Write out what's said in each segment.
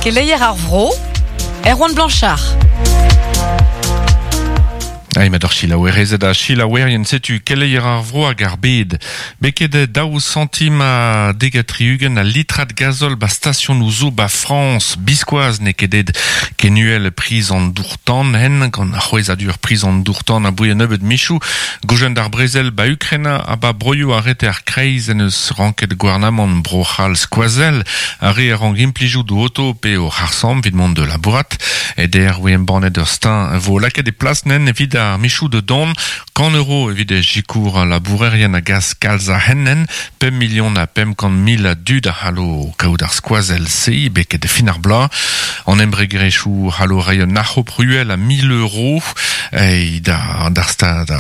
Keleier ar vro, Erwan Blanchard. Ai mat ur selaouerezed ha selaouerien setu keleier ar vro hag ar bed. Beket daou santim ha dek ha tri-ugent a litrad gazol ba stasionoù zo ba Frañs. Biskoazh n'eo ket aet ken uhel priz an dour-tan hen gant c'hwezhadur priz an dour-tan aboe un nebeud michoù. Goujenn d'ar brezel ba Ukraina ha ba broioù ar reter kreiz en eus ranket gouarnamant Bro-C'hall skoazell ar re a rank implijout o oto pe o c'harr-samm evit mont da labourat. Eder 'voe embannet ur steuñv vo lakaet e plas nen evit ar michoù da dont, kant euro evit sikour al labourerien a gas kalz a hent-nen, pemp milion ha 500 mil a dud a c'hallo kaout ar skoazell-se beket fin ar bloaz. An embregerezhioù c'hallo reiñ un arc'hop ruel a 1000 euro da d'ar stad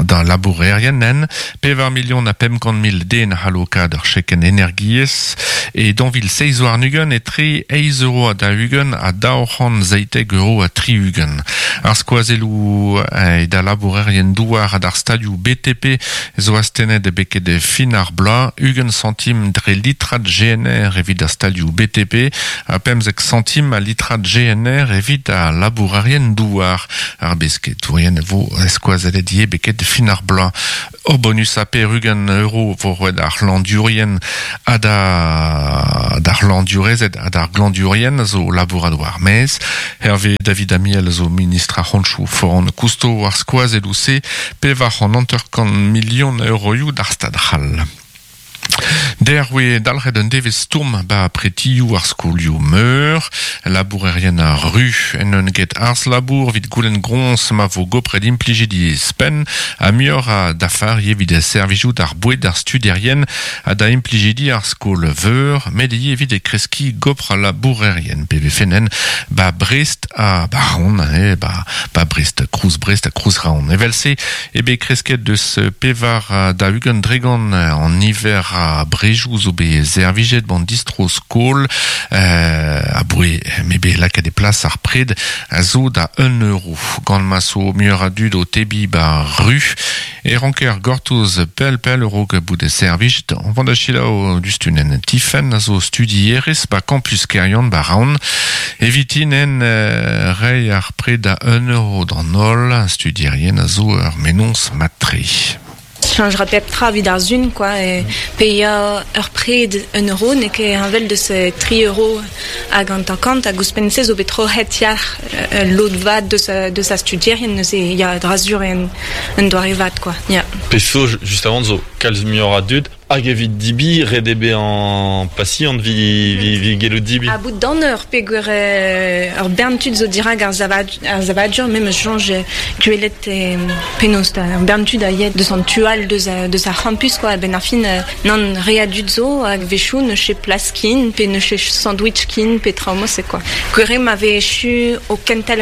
da labourerien nen. Pevar milion ha 500 mil den a c'hallo kaout ur chekenn energiezh e 2027 etre eizh euro ha 40 ha 217 euro ha 60. Ar skoazelloù da labourerien douar ha d'ar stalioù BTP zo astennet beket fin ar bloaz, 20 santim dre litrad GNR evit ar stalioù BTP ha 15 santim a litrad GNR evit ar labourerien douar. Ar besketourien vo skoazellet ivez beket fin ar bloaz. Ur bonus a 80 euro vo roet ar c'hlañvdiourien ha da d'ar c'hlañvdiourezed ha d'ar glañvdiourien zo labourat war ar maez. Hervé David Amiel zo ministr ar c'honchoù foran kousto war skoazelloù-se 450 milion euroioù d'ar stad c'hall. Der oe dalc'het un devezh stourm ba pretioù ar skolioù meur, labourerien ar ru en un get arz labour evit goulenn groñs ma vo gopret implijidi spenn ha muioc'h a dafar evit servijout ar boued ar studierien ha da implijidi ar skol veur, met ivez evit e kreskiñ gopr al labourerien pe vefe ba Brest ha ba Raon, eh, ba, ba Brest, Krouz Brest ha Krouz Raon. Evel-se eo bet kresket deus 24% an niver a brejoù zo bet servijet ban distro-skol aboe m'eo bet lakaet e plas ar pred a zo da 1 euro. Gant ma zo muioc'h a dud o tebriñ ba ru e ranker gortoz pell-pell a-raok bout servijet. On va da selaou diouzhtu Tifenn a zo studierez ba campus Keryann ba Raon. Evitin en reiñ ar pred da 1 euro d'an holl studierien a zo ur mennozh mat-tre. Cheñch 'ra pep tra evit ar sun quoi e paeañ ur pred un euro n'eo ket heñvel deus tri euro hag hanter-kant hag ouzhpenn-se zo bet troc'het yalc'h ul lod vat deus deus ar studierien neuze ya dra sur eo un doare vat quoi ya. Pezh zo just avant zo kalz muioc'h a dud hag evit debriñ ret eo bezañ pasiant 'vit 'vit gellout debriñ. Ha bout d'an eur peogwir ur bern tud zo dirak ar ar savadur me 'meus soñj gwelet penaos ur bern tud a ya deus an tu all deus deus ar c'hampus quoi a-benn ar fin nann re a dud zo hag a-wechoù n'eus ket plas ken pe n'eus ket sandwich ken pe traoù mod-se quoi. Gwir eo ma vez echu o kentel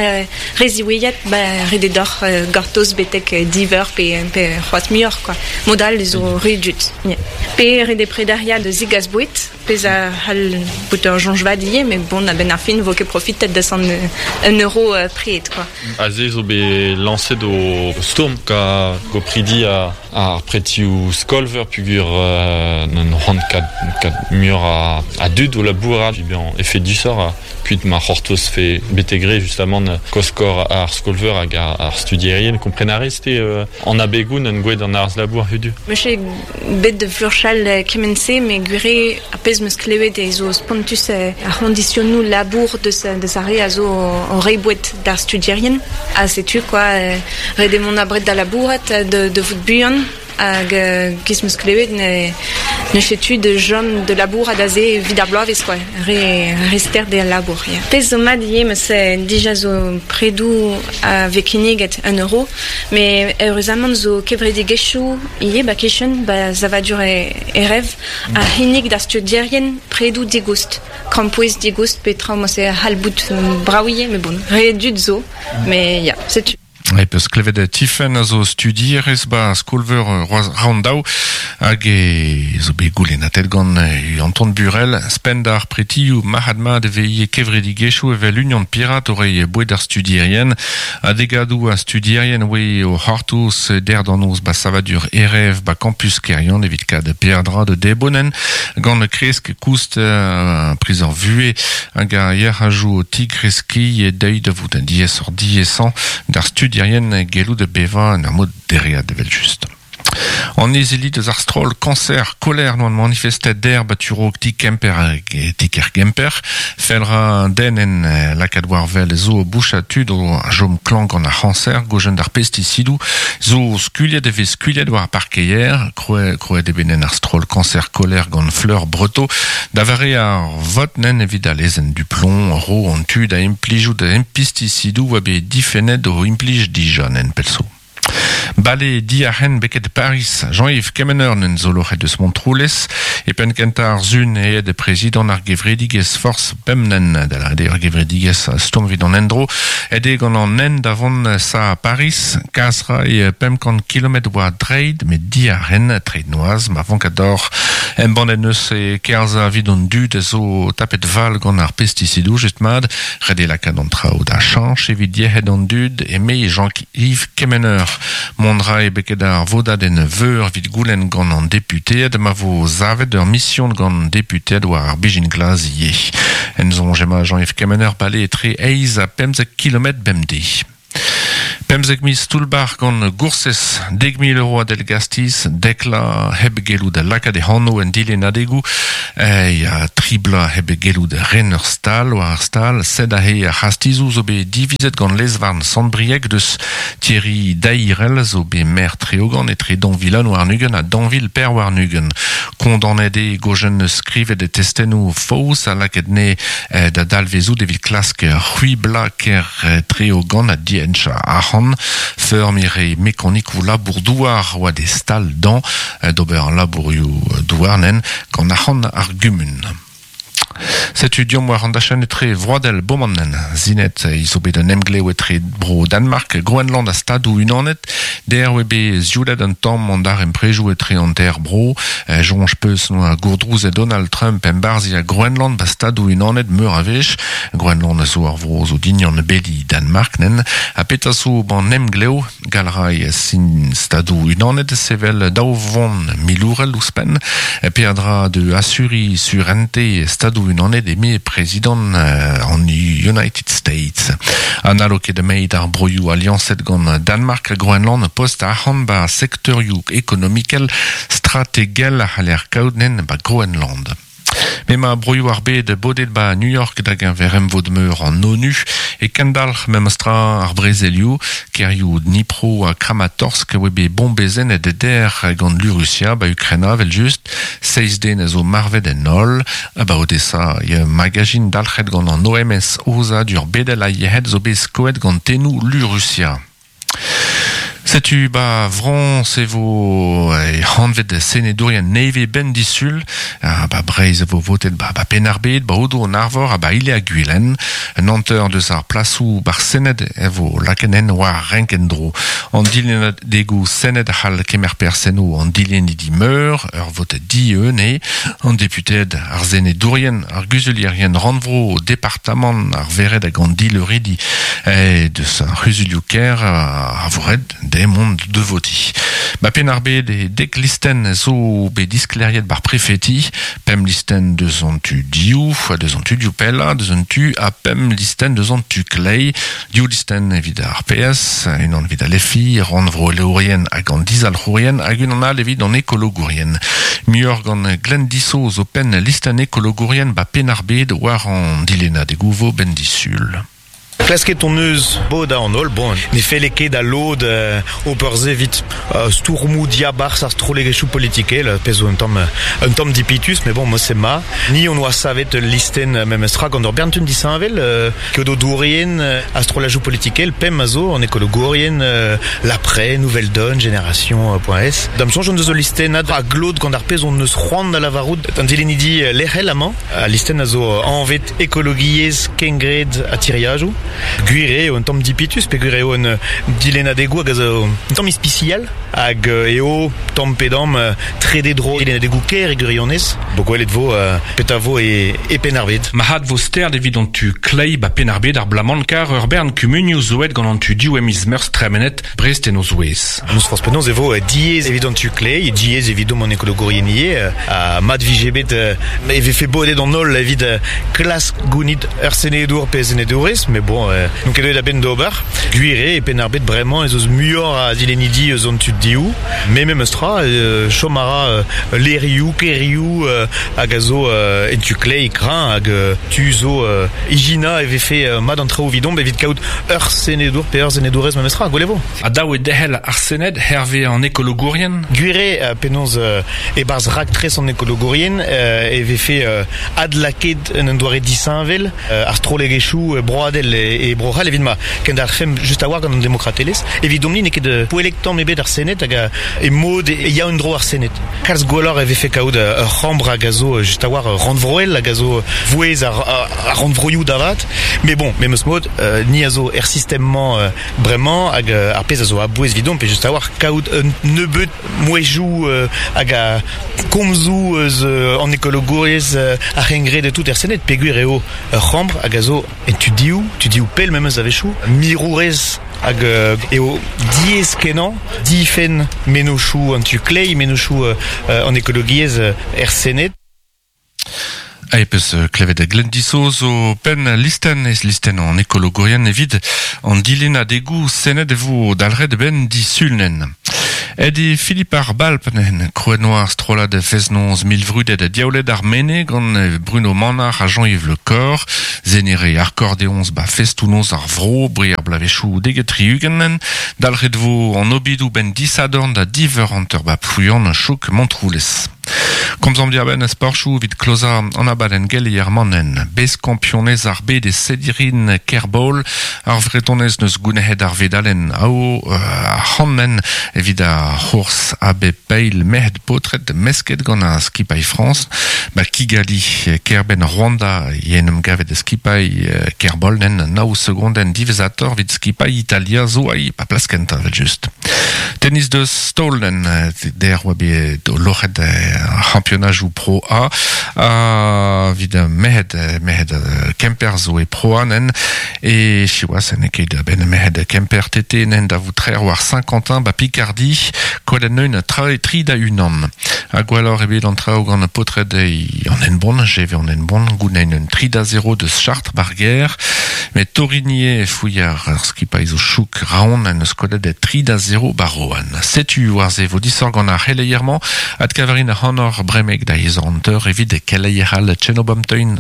re ziwezhat ba ret eo deoc'h gortoz betek div eur pe pe c'hoazh muioc'h quoi. Mod all zo re dud. Pe ret eo prederiañ da zegas boued pezh a c'hall bout ur soñj vat ivez met bon a-benn ar fin 'vo ket profitet deus an un euro pred quoi. Aze zo bet lañset o stourm ka gopridi ar pretioù skol-veur peogwir n'on c'hoant kat muioc'h a dud o labourat bezañ efedusoc'h kuit ma c'hortozfe betek re justamant koskor ar skol-veur hag ar studierien. Kompren a rez te an abegoù n'en gouet an arz-labour hudu? Meus ket bet da furchal kement-se met gwir eo ar pezh 'meus klevet eo zo spontus ar c'hoñdisionoù labour deus deus ar re a zo o reiñ boued d'ar studierien ha setu quoi ret eo mont abred da labourat da vout buan hag giz 'meus klevet ne n'eus ket tu da chom da labourat aze evit ar bloavezh quoi re re stert eo al labour ya. Pezh zo mat ivez 'meus dija zo predoù a vez kinniget un euro met eüruzamant zo kevredigezhioù ivez ba kichen ba savadur e rev a c'hinnig d'ar studierien predoù digoust krampouezh digoust pe traoù mod-se a c'hall bout brav ivez met bon re dud zo met ya setu. E peus klevet Tiffen a zo studierez ba skolveur Roaz Roundau hag e zo bet goulennatet gant Anton Burel spend ar pretioù marc'had-mat e vez kevredigezhioù evel Union Pirat o reiñ boued ar studierien ha degadoù a studierien oe o c'hortoz der d'an noz ba savadur Erev ba campus Keryann evit kad peadra de debonen gant kresk koust priz ar vuhez hag ar yec'hajoù o tigreskiñ e deuit da vout diaesoc'h diaesañ d'ar studierien gellout bevañ en ur mod dereat evel-just. An izili deus ar stroll Cancer Koler noan manifestet der ba turog ti Kemper hag ti-kêr Gemper. Fell ra den en lakaat war wel zo boucha tud o chom klañv gant ar c'hañser gojenn d'ar pestisidoù zo skuilhet e vez skuilhet war ar parkeier. Krouet eo bet nen ar stroll Cancer Koler gant Fleur Breteau. Da vare ar vot nen evit al lezenn Duplomb ro an tu da implijout pestisidoù oa bet difennet o implij dija nen pell zo. Bale diarc'hen beket Paris, Jean-Yves Kemener n'en zo loc'het eus Montroulez, e penn kentañ ar sun aet prezidant ar gevredigezh Force Pemnen, da lâret eo ar gevredigezh stourm evit an endro, aet eo gant an hent da vont sa Paris, kas 'ray 500 kilometr war dreid, met diarc'hen, treid noazh, ma vank deoc'h. Embannet 'neus e kerzhañ evit an dud a zo tapet val gant ar pestisidoù, just mat, ret eo lakaat an traoù da chañch evit yec'hed an dud, eme Jean-Yves Kemener. Mont 'ray beket ar vodadenn veur evit goulenn gant an deputeed ma vo savet ur mision gant deputeed war ar bezhin glas ivez. En soñj emañ Jean-Yves Kemener bale etre eizh ha 15 kilometr bemdez. 15 miz toull-bac'h gant goursez, 10,000 euro a dell-gastiz, dek vloaz hep gellout lakaat e anv en dilennadegoù, ya, tri bloaz hep gellout ren ur stal war ar stal, sed aze ar c'hastizoù zo bet divizet gant lez-varn Sant-Brieg deus Thierry Dairel zo bet maer Treogan etre 2021 ha 2024. Kondaonet eo gojenn skrivet e testennoù faos ha lakaet ne da dalvezout evit klask c'hwiblañ kêr Treogan ha dienchañ arc'hant. Feurmiñ re mekanikoù labour-douar oa d'e stal dañ d'ober labourioù douar nen gant arc'hant ar gumun. Setu deomp war an dachenn etre vroadel Bomannen. Sinet zo bet un emglev etre bro Danmark, Groenland ha Stadoù Unanet. Der oe bet zioulet un tamm an daremprejoù etre an teir bro. Soñj peus noa gourdrouzet Donald Trump embarzhiañ Groenland ba Stadoù Unanet meur a wech. Groenland a zo ar vro zo dignan beli Danmark nen. Ha petra zo ban emglev Gall 'ray sin Stadoù Unanet sevel daou vont milourel ouzhpenn. Peadra da asuriñ surente Stadoù Unanet eme prezidant an United States. Ha n'hallo ket meit ar broioù aliañset gant Danmark ha Groenland post arc'hant ba sektorioù ekonomikel strategel a c'haller kaout nen ba Groenland. M'emañ broioù ar bed bodet ba New York da geñver emvod-meur an ONU e kendalc'h memestra ar brezelioù. Kêrioù Dnipro ha Kramatorsk a oa bet bombezennet der gant lu Rusia ba Ukraina evel-just. Seizh den a zo marvet en holl. Ba Odessa e magazin dalc'het gant an OMS Aozadur bedel a yec'hed zo bet skoet gant tennoù lu Rusia. Setu ba Frañs e vo hanvet senedourien nevez 'benn disul. Ha ba Breizh e vo votet ba ba Penn-ar-Bed, ba Aodoù-an-Arvor ha ba Ile-ha-Gwilen. Un hanter deus ar plasoù ba'r Sened e vo lakaet en war renk en-dro. An dilennadegoù Sened a c'hall kemer perzh enno an dilennidi meur, ur vot dieun eo. An deputeed, ar senedourien, ar guzulierien rannvro, departamant, ar vered hag an dileuridi deus ar c'huzulioù-kêr a vo ret dezhe mont da votiñ. Ba Penn-ar-Bed e dek listenn zo bet disklêriet ba'r prefeti, pemp listenn deus an tu dioù, deus an tu dioù pellañ, deus an tu ha pemp listenn deus an tu kleiz, div listenn evit ar PS, unan evit al FI, rannvroelourien hag an dizalc'hourien hag unan all evit an ekologourien. Muioc'h gant Glenn Dissau zo penn listenn ekologourien ba Penn-ar-Bed war an dilennadegoù vo 'benn disul. Klasket hon eus bodañ an holl, bon, ne felle ket da lod ober se evit stourmoù diabarzh ar strollegezhioù politikel, pezh zo un tamm un tamm dipitus, met bon, mod-se 'ma. Ni hon oa savet ul listenn memestra gant ur bern tud disheñvel, keodedourien ha strollajoù politikel, pemp a zo, an ekologourien, L'Après, Nouvelle Donne, Génération.s. Da'm soñj hon deus ul listennad a glot gant ar pezh hon eus c'hoant da lavarout d'an dilennidi lec'hel amañ. Al listenn a zo anvet Ekologiezh, kengred ha tiriadoù. Gwir eo un tamm dipitus peogwir eo un dilennadegoù hag a zo un tamm ispisial hag eo tamm pe damm trede dro dilennadegoù kêr e gwirionez. Bo gwelet vo petra vo e Penn-ar-Bed. Marc'had vo stert evit an tu kleiz ba Penn-ar-Bed ar bloaz-mañ kar ur bern kumunioù zo aet gant an tu div e miz Meurzh tremenet, Brest en o zouez. N'eus forzh penaos e vo diaes evit an tu kleiz, diaes evidomp an ekologourien ivez, ha mat vije bet e vefe bodet an holl evit klask gounit ur senedour pe senedourez, met bon, n'on ket deuet a-benn d'ober. Gwir eo, e Penn-ar-Bed bremañ ez eus muioc'h a zilennidi eus an tu dehou, met memes tra, chom a ra levrioù, kêrioù hag a zo en tu kleiz kreñv hag tu zo ijinañ e vefe mat an traoù evidomp evit kaout ur senedour pe ur senedourez memestra, gwell e vo. Ha dav eo derc'hel ar Sened hervez an ekologourien? Gwir eo penaos e-barzh raktres an ekologourien e vefe adlakaet en un doare disheñvel ar strollegezhioù broadel e Bro-C'hall evit ma kendalc'hfemp just a-walc'h gant an demokratelezh. Evidomp-ni n'eo ket poellek tamm ebet ar Sened hag e mod e ya en-dro ar Sened. Kalz gwelloc'h e vefe kaout ur c'hambr hag a zo just a-walc'h rannvroel hag a zo vouezh ar rannvroioù da vat. Met bon, memes mod, ni a zo er sistem-mañ bremañ hag ar pezh a zo a-bouez evidomp eo just a-walc'h kaout un nebeud mouezhioù hag a komzoù eus an ekologouriezh ar c'hengred e tout er Sened peogwir eo ur c'hambr hag a zo en tudioù, tudioù pell memes a-wechoù, mirourez hag eo diaes-kenañ difenn mennozhioù an tu kleiz, mennozhioù an ekologiezh er Sened. Ha e peus klevet Glenn Diso zo penn listenn ez listenn an ekologourien evit an dilennadegoù Sened e vo dalc'het benn disulnen. Aet eo Philippe ar Balp neuzen, krouet noa ar strollad fest-noz milvrudet Diaouled ar Mene gant Bruno Manac'h ha Jean-Yves Le Corre. Zenere akordeoñs ba festoù-noz ar vro, bre ar bloavezhioù 70. Dalc'het vo an obidoù benn disadorn da div eur hanter ba Plouyann, chouk Montroulez. Komzomp diarbenn sporchoù evit klozañ an abadenn Gellier-Mannen. Bez-kampionez ar bed e Sedirin Kerbaol. Ar Vretonez n'eus gounezet ar vedalenn aour ar c'hant evit ar c'hours a bep eil merc'hed paotred mesket gant ar skipailh Frañs. Ba Kigali, kêr-benn Rwanda, en em gavet skipailh Kerbaol nen nav segondenn diwezhatoc'h evit skipailh Italia zo ai pa plas kentañ evel-just. Tennis deus Stolen der oa bet loc'het ar c'hampionajoù Pro A ha evit merc'hed merc'hed Kemper zo e Pro A nen e siwazh n'eo ket a-benn merc'hed Kemper TT nen da vout trec'h war Saint-Quentin ba Picardie kollet neun tri da unan. Ha gwelloc'h eo bet an traoù gant paotred an Henbont, GV an Henbont, gounein un 3 da 0 deus Chartres bar gêr. Met Torigné fouilh ar skipailh zo chouk Raon en deus kollet 3 da 0 ba Rohan. Setu war se vo disoc'h gant ar c'heleier-mañ. Adkavarin ac'hanoc'h bremek da 1h evit keleier all Tchenobamteun.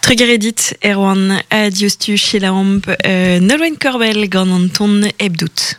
Trugarez dit, Erwan. Diouzhtu selaomp Nolwenn Korbel gant an ton hep dout.